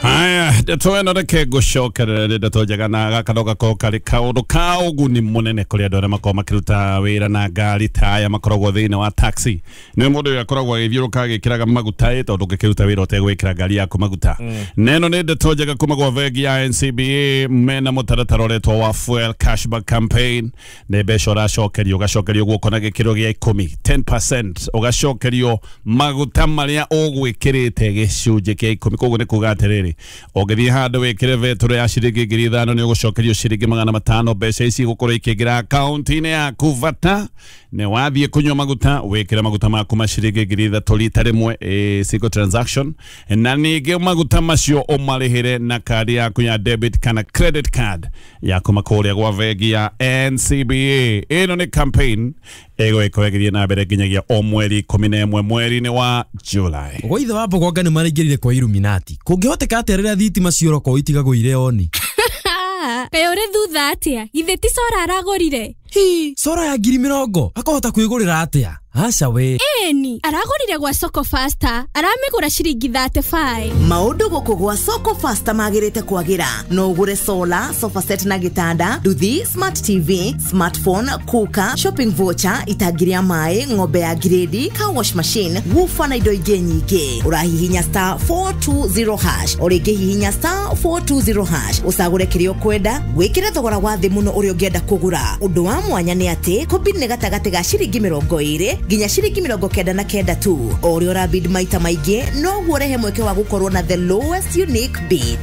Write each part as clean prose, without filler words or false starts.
Haya, ndeto ĩno reke ngũcokerere nĩ ndeto njega na gaka no gakorwo karĩ kaũndũ ka ũguni mũnene kũrĩ andũ arĩa makoragwo makĩruta wĩra na ngari ta aya makoragwo thĩinĩ wa taxi. Nĩ mũndũ ũyũ akoragwo agĩthiũrũka agĩkĩraga maguta ĩ tondũ ũngĩkĩruta wĩra ũtegwĩkĩra ngari yaku maguta. Na ĩno nĩ ndeto njega kuma gwa bengi ya NCBA mena mũtaratara ũretwo wa fuel cashback campaign. Nĩ mbeca ũracokerio, ũgacokerio guoko na gĩkĩro gĩa 10, 10%, ũgacokerio maguta marĩa ũgwĩkĩrĩte gĩcunjĩ kĩa 10. Koguo nĩ kuga atĩrĩrĩ, ũngĩthiĩ handũ wĩkĩre betũrũ ya ciringi 5,000 nĩ ũgũcokerio ciringi 500. Mbeca ici igũkorwo ikĩingĩra akaunti-inĩ yaku bata nĩ wathiĩ kũnyua maguta wĩkĩre maguta maku ma ciringi 3,000 rita rĩmwe, single transaction, na ningĩ maguta macio ũmarĩhĩre na kandi yaku ya debit kana credit card ya kuma kũrĩa gwa bengi ya NCBA. Ĩno nĩ campaign ĩgũgĩkorwo ĩgĩthiĩ na mbere nginyagia o mweri 11 mweri-inĩ wa July. Gwa ithe wa Mbogonga nĩ maraingĩrire kwa Illuminati. Kũngĩhoteka atĩa rĩrĩa thitima ciora itigagwo irĩ oni? Kaĩ ũrĩ thutha atĩa? Githĩ ti cora aragũrire? Hi, cora ya 20,000 akahota kwĩgũrĩra atĩa? Aca we. Ĩni, aragũrire gwa Soko Faster, aramĩgũra ciringi 35. Maũndũ gũkũ gwa Soko Faster magĩrĩte kwagĩra. No ũgũre solar, sofa set na gĩtanda, nduthi, smart TV, smartphone, cooker, shopping voucher, itangi rĩa maĩ, ng'ombe ya grade, car wash machine, woofer na indo ingĩ nyingĩ. Ũrahihinya star 420 hash, o rĩngĩ hihinya star 420 hash, ũcagũre kĩrĩa ũkwenda, wĩkĩre thogora wa thĩ mũno ũrĩa ũngĩenda kũgũra. Ũndũ wa mwanya nĩ atĩ kũbid nĩ gatagatĩ ga ciringi 20 nginya ciringi 99 tu. O ũrĩa ũrabid maita maingĩ noguo ũrehe mweke wa gũkorwo na the lowest unique bid.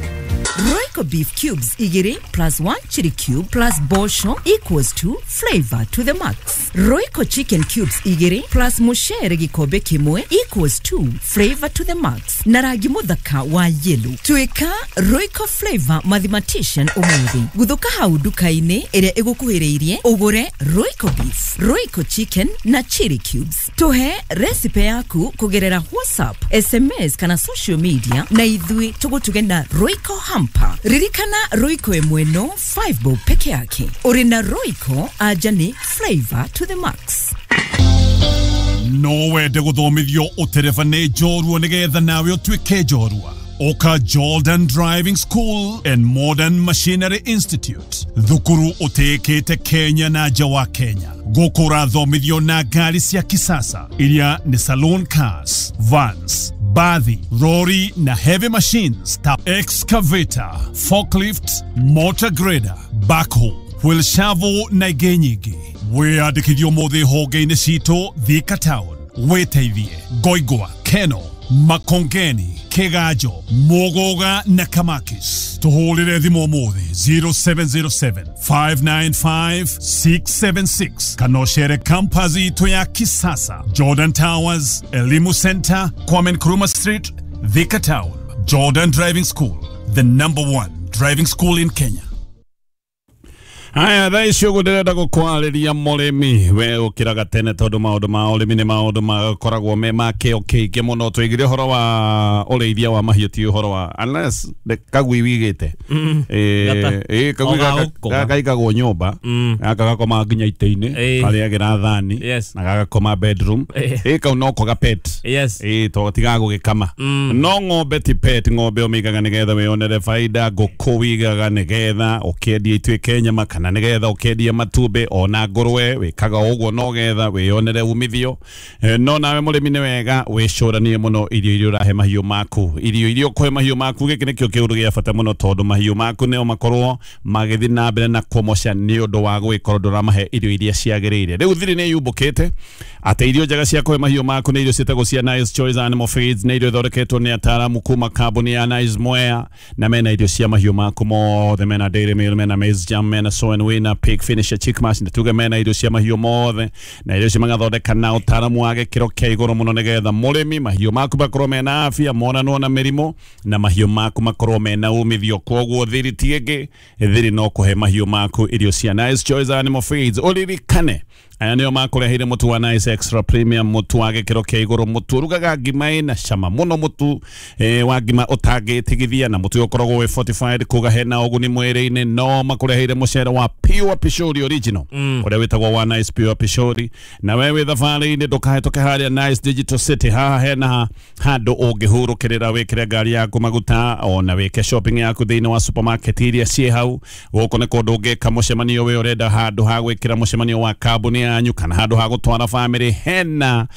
Royco beef cubes igiri plus 1 chili cube plus bosho equals to flavor to the max. Royco chicken cubes igiri plus mushere gikombe kimwe equals to flavor to the max. Na rangi muthaka wa yellow. Tuika Royco flavor mathematician umuthi. Guthuka hau nduka-inĩ ĩrĩa ĩgũkuhĩrĩirie ũgũre Royco beef, Royco chicken na chili cubes. Tuhe recipe yaku kugerera WhatsApp, SMS kana social media na ithui tũgũtuge na Royco hamper. Ririkana Royco ĩmwe no 5 bob peke yake. Uri na Royco aja ni flavor to the max. No wende gũthomithio ũtereba nĩ njorua nĩgetha nawe ũtuĩke njorua. Oka Jordan Driving School and Modern Machinery Institute. Thukuru ũtĩĩkĩte Kenya na nja wa Kenya. Gũkũ ũrathomithio na ngari cia kisasa iria nĩ saloon cars, vans, bathi, lorry na heavy machines ta excavator, forklift, motor grader, backhoe, wheel shovel na ingĩ nyingĩ. Wĩyandĩkithie ũmũthĩ honge-inĩ citũ Thika Town, Wĩteithie, Ngoingwa, Keno, Makongeni, Kigajo, Mugoga na Kamakis. Tuhũrĩre thimũ ũmũthĩ 0707 595 676 kana ũcere campus itũ ya kisasa, Jordan Towers, Elimu Center, Kwame Nkrumah Street, Thika Town. Jordan Driving School, the number one driving school in Kenya. Haya, thaa ici ũguo ndĩrenda gũkwarĩria mũrĩmi we ũkĩraga tene tondũ maũndũ ma ũrĩmi nĩ maũndũ makoragwo me ma kĩo kĩingĩ mũno. Tũigire ũhoro wa ũrĩithia wa mahiũ ti ũhoro wa unless kagui wigĩte kagui gaka gaikagwo nyũmba gaka gakoma nginya itĩ-inĩ karĩagĩra thani na gagakoma bedroom kau noko ga pet to tigagũgĩkama. No ng'ombe ti pet, ng'ombe ũmĩigaga nĩgetha wĩyonere baida, ngũkũ wĩigaga nĩgetha ũkĩendia ituĩke nyama kana nĩgetha ũkĩendia matumbĩ, ona ngũrwe wĩkaga ũguo nogetha wĩyonere umithio. No nawe mũrĩmi nĩ wega wĩcũranie mũno irio iria ũrahe mahiũ maku, irio iria ũkũhe mahiũ maku. Gĩkĩ nĩkĩo kĩũndũ gĩa bata mũno tondũ mahiũ maku nĩo makorwo magĩthiĩ na mbere na kũmoca nĩ ũndũ wa gũgĩkorwo ndũramahe irio iria ciagĩrĩire. Rĩu thiri nĩ yumbũkĩte atĩ irio njega cia kũhe mahiũ maku nĩ irio ciĩtagwo cia Nice Choice Animal Feeds, nĩ irio ithondeketwo nĩ ataaramu kuma kambuni ya Nice Mwea, na mena irio cia mahiũ maku mothe, mena dairy meal, mena maize jam, mena soy and winner, pig finisher, chick mash, na tuge mena irio cia mahiũ mothe, na irio icio magathondeka na ũtaaramu wa gĩkĩro kĩa igũrũ mũno nĩgetha mũrĩmi mahiũ maku makorwo mena afya, monanwo na mĩrimũ, na mahiũ maku makorwo mena umithio. Koguo thiri ti ĩngĩ, thiri no kũhe mahiũ maku irio cia Nice Choice Animal Feeds. Ũririkane Aya nĩo makũreheire mũtu wa Nice Extra Premium, mũtu wa gĩkĩro kĩa igũrũ, mũtu ũrugaga ngima ĩna cama mũno, mũtu wa ngima ũtangĩtigithia, na mũtu ũyũ ũkoragwo wĩ fortified kuga hena ũguni mwĩrĩ-inĩ. No makũreheire mũcere wa Pure Pishori Original ũrĩa wĩtagwo wa Nice Pure Pishori. Na we wĩ thabarĩ-inĩ ndũkahĩtũke harĩa Nice Digital City, haha hena handũ ũngĩhurũkĩrĩra wĩkĩre ngari yaku maguta ona wĩke shopping yaku thĩinĩ wa supermarket iria ciĩ hau. Gũkũ nĩ kũndũ ũngĩka mũcemanio wĩ ũrenda handũ ha gwĩkĩra mũcemanio wa kambuni yanyu kana handũ ha gũtwara family. Hena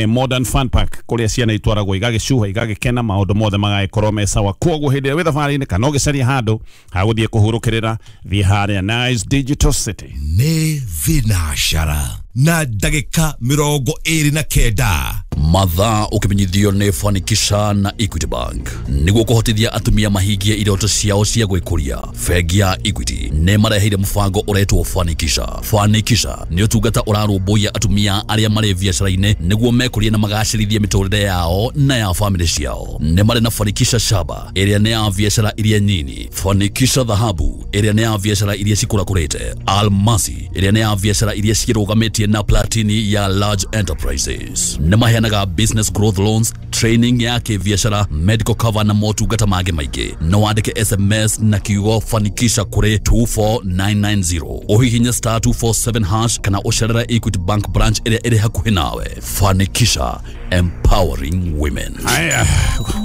modern fun park kũrĩa ciana itwaragwo igagĩcuha igagĩkena, maũndũ mothe magagĩkorwo me sawa. Koguo hĩndĩ ĩrĩa wĩ thabarĩ-inĩ kana ũgĩcaria handũ ha gũthiĩ kũhurũkĩrĩra, thiĩ harĩa Nice Digital City. Nĩ thinacara na ndagĩka 29. Mathaa ũkĩmenyithio nĩ Fanikisha na Equity Bank nĩguo kũhotithia atumia mahingie iroto ciao cia gwĩkũria. Bengi ya Equity nĩ mareheire mũbango ũretwo Fanikisha. Fanikisha nĩ ũtungata ũrarũmbũiya atumia arĩa marĩ biacara-inĩ nĩguo mekũrie na magacĩrithie mĩtũrĩre yao na ya famĩlĩ ciao. Nĩ marĩ na Fanikisha Shaba ĩrĩa nĩ ya biacara iria nyini, Fanikisha Dhahabu ĩrĩa nĩ ya biacara iria cikũrakũrĩte, Almasi ĩrĩa nĩ ya biacara iria cirũgamĩtie na Platini ya large enterprises. Nĩ maheanaga business growth loans, training ya kĩbiacara, medical cover na motungata mangĩ maingĩ. No wandĩke SMS na kiugo Fanikisha kũrĩ 24990, ũhihinye star 247 hash kana ũcerere Equity Bank branch ĩrĩa ĩrĩ hakuhĩ nawe. Fanikisha, empowering women. Aya,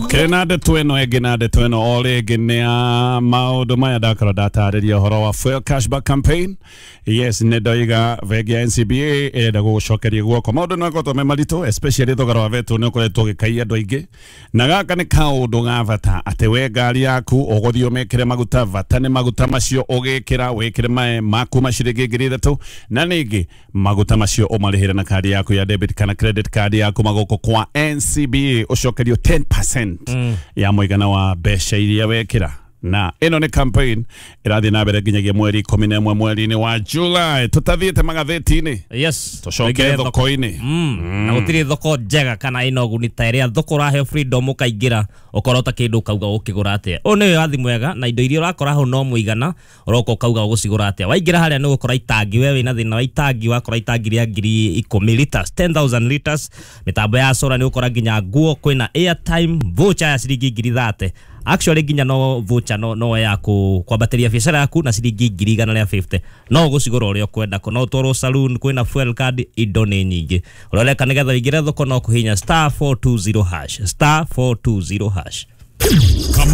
kĩrĩ na ndeto ĩno ĩngĩ, na ndeto ĩno o rĩngĩ nĩ ya maũndũ maya ndakorwo ndatarĩria ũhoro wa fuel cashback campaign. Yes, nĩ ndoiga bengi ya NCBA ĩrenda gũgũcokeria guoko. Maũndũ nĩ makoretwo me maritũ, especially thogora wa betũ nĩ ũkoretwo ũgĩkaia andũ aingĩ, na gaka nĩ kaũndũ ga bata atĩ we ngari yaku ũgũthiĩ ũmĩkĩre maguta, bata nĩ maguta macio ũgĩkĩra wĩkĩre mae maku ma ciringi 3,000, na ningĩ maguta macio ũmarĩhĩre na kandi yaku ya debit kana credit card yaku magũkũ kwa NCBA ũcokerio 10% ya mũigana wa mbeca iria wekĩra. Na ĩno nĩ campaign ĩrathiĩ na mbere nginyagia mweri 11 mweri-inĩ wa July. Tũtathiĩte magathĩti-inĩ, yes, tũcoke thoko-inĩ. Na gũtirĩ thoko njega kana ĩna ũguni ta ĩrĩa thoko ũraheo freedom ũkaingĩra ũkorota kĩndũ ũkauga ũkĩgũra atĩa. Ũyũ nĩ wĩyathi mwega na indo iria ũrakora hau no mũigana ũroka ũkauga ũgũcigũra atĩa. Waingĩra harĩa nĩ ũgũkora itangi, we wĩna thĩna wa itangi, wakora itangi rĩa 10,000 liters, 10,000 liters. Mĩtambo ya solar nĩ ũgũkora nginya nguo, kwĩna airtime voucher ya ciringi 30,000. Actually nginya no voucher no ya kwambatĩria biacara yaku na ciringi 150,000. No ũgũcigũra ũrĩa ũkwenda, no ũtwarwo saloon, kwĩna fuel card, indo nĩ nyingĩ. Ũroreka nĩgetha ũingĩre thoko no kũhihinya star 420 hash, star 420 hash. Come